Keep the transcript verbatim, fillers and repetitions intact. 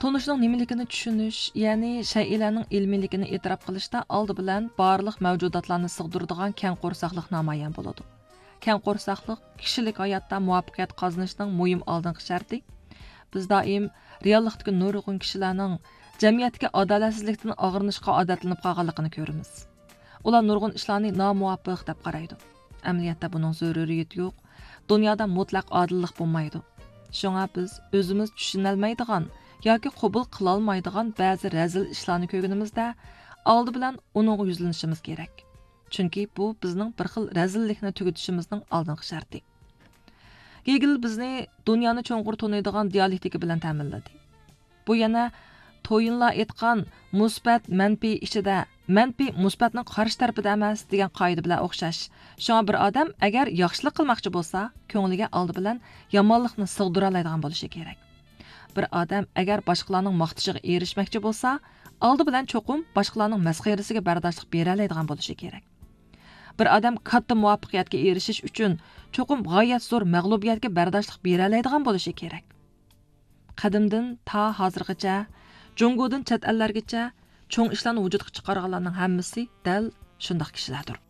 تونۇشنىڭ نېمىلىكىنى چۈشىنىش، يەنى شەيئىلەرنىڭ ئىلمىيلىكىنى ئېتىراپ قىلىشتا ئالدى بىلەن بارلىق مەۋجۇداتلارنى سىغدۇرىدىغان كەڭ قورساقلىق نامايان بولىدۇ. كەڭ قورساقلىق كىشىلىك ھاياتتا مۇۋەپپەقىيەت قازىنىشنىڭ مۇھىم ئالدىنقى شەرتى. بىز دائىم رېئاللىقتىكى نۇرغۇن كىشىلەرنىڭ جەمئىيەتتىكى ئادالەتسىزلىكتىن ئاغرىنىشقا ئادەتلىنىپ قالغانلىقىنى كۆرىمىز. ئۇلار نۇرغۇن ئىشلارنى نامۇۋاپىق دەپ قارايدۇ. ئەمەلىيەتتە بۇنىڭ زۆرۈرىيىتى يوق. دۇنيادا مۇتلەق ئادىللىق بولمايدۇ. شۇڭا بىز ئۆزىمىز چۈشىنەلمەيدىغان ياكى قوبۇل قىلالمايدىغان بەزى رەزىل ئىشلارنى كۆرگىنىمىزدە، ئالدى بىلەن ئۇنىڭغا يۈزلىنىشىمىز كېرەك. چۈنكى بۇ بىزنىڭ بىر خىل رەزىللىكنى تۈگىتىشىمىزنىڭ ئالدىنقى شەرتى. گېگېل بىزنى دۇنيانى چوڭقۇر تونۇيدىغان دىيالېكتىكا بىلەن تەمىنلىدى. بۇ يەنە تويىنلار ئېيتقان مۇسبەت مەنپىي ئىچىدە مەنپىي مۇسبەتنىڭ قارشى تەرىپىدە ئەمەس دېگەن قائىدە بىلەن ئوخشاش. شۇڭا بىر ئادەم ئەگەر ياخشىلىق قىلماقچى بولسا، كۆڭلىگە ئالدى بىلەن يامانلىقنى سىغدۇرالايدىغان بولۇشى كېرەك. بىر ئادەم ئەگەر باشقىلارنىڭ ماختىشىغا ئېرىشمەكچى بولسا، ئالدى بىلەن چوقۇم باشقىلارنىڭ مەسخىرىسىگە بەرداشلىق بېرەلەيدىغان بولۇشى كېرەك. بىر ئادەم كاتتا مۇۋەپپەقىيەتكە ئېرىشىش ئۈچۈن چوقۇم غايەت زور مەغلۇبىيەتكە بەرداشلىق بېرەلەيدىغان بولۇشى كېرەك. قەدىمدىن تا ھازىرغىچە، جۇڭگودىن چەت ئەللەرگىچە چوڭ ئىشلارنى ۋۇجۇدقا چىقارغانلارنىڭ ھەممىسى دەل شۇنداق كىشىلەردۇر.